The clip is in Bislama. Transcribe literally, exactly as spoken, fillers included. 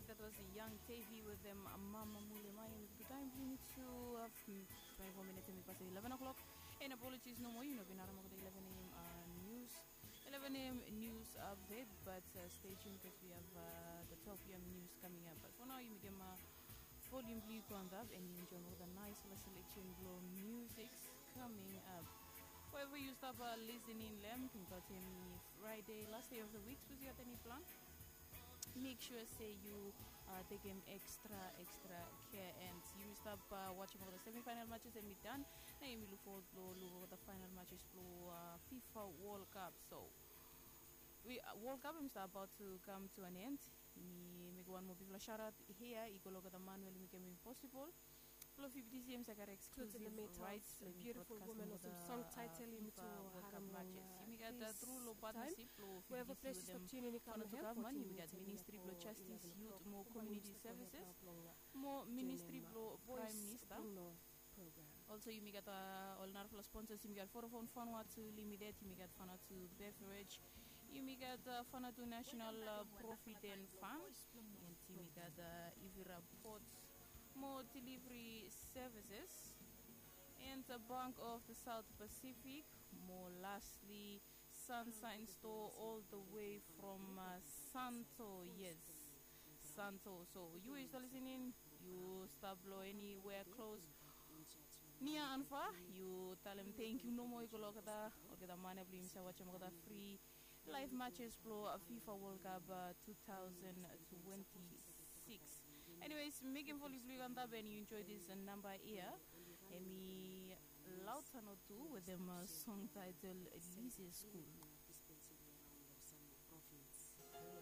That was Young Tavy with them, Mama Mule. Mai yumi tu taim blong yumi tu, uh, twenty-four minutes yumi pasim eleven o'clock. And apologies nomo, yu no bin harim olgeta eleven a.m. Uh, news, eleven a.m. news update, but uh, stay tuned because we have uh, the twelve p.m. news coming up. But for now yumi givim uh, volume blong yu go antap and yu enjoy olgeta nice selection blong music coming up. Wherever yu stap uh, listening long, ken yu gat eni Friday, last day of the week, sapos yu gat eni plan, make sure se yu uh, tekem extra extra care. And yumi stap uh, watchim olgeta semifinal matches and mi dan. Na yumi look forward blong look olgeta final matches blong uh, FIFA World Cup. So we, uh, World Cup yumi stap about to come to an end. Mi mekem wan moa bigfala shout out hia i go long olgeta man we oli mekem impossible blong fifty cm sa gat exclusive rights blong yumi broadcastim olgeta uh, FIFA World Cup matches. Yumi gat uh, tru long partnership blong fifty cm wetem Fanatukavman. Yumi gat Ministry blong Justice, Youth mo Community Services mo Ministry blong Prime Minister. Also yumi gat uh, ol narafala sponsors. Yumi gat Vodafone Vanuatu Limited, yumi gat Vanuatu Beverage, yumi gat uh, Vanuatu National uh, Provident Fund, and yumi gat uh, Ivira Ports mo Delivery Services, and the Bank of the South Pacific mo lastly Sunshine Store all the way from uh, Santo. Yes, Santo. So yu we yu stap listening, yu stap long anywhere close, near and far, yu talem thank you nomo i go long olgeta olgeta man ya blong yumi sa watchim olgeta free live matches blong uh, FIFA World Cup uh, two thousand twenty-six. Anyways, mekem volume blong yu go antap and yu enjoy this uh, number hia. Hemi Lautano tu wetem uh, song title Lise School.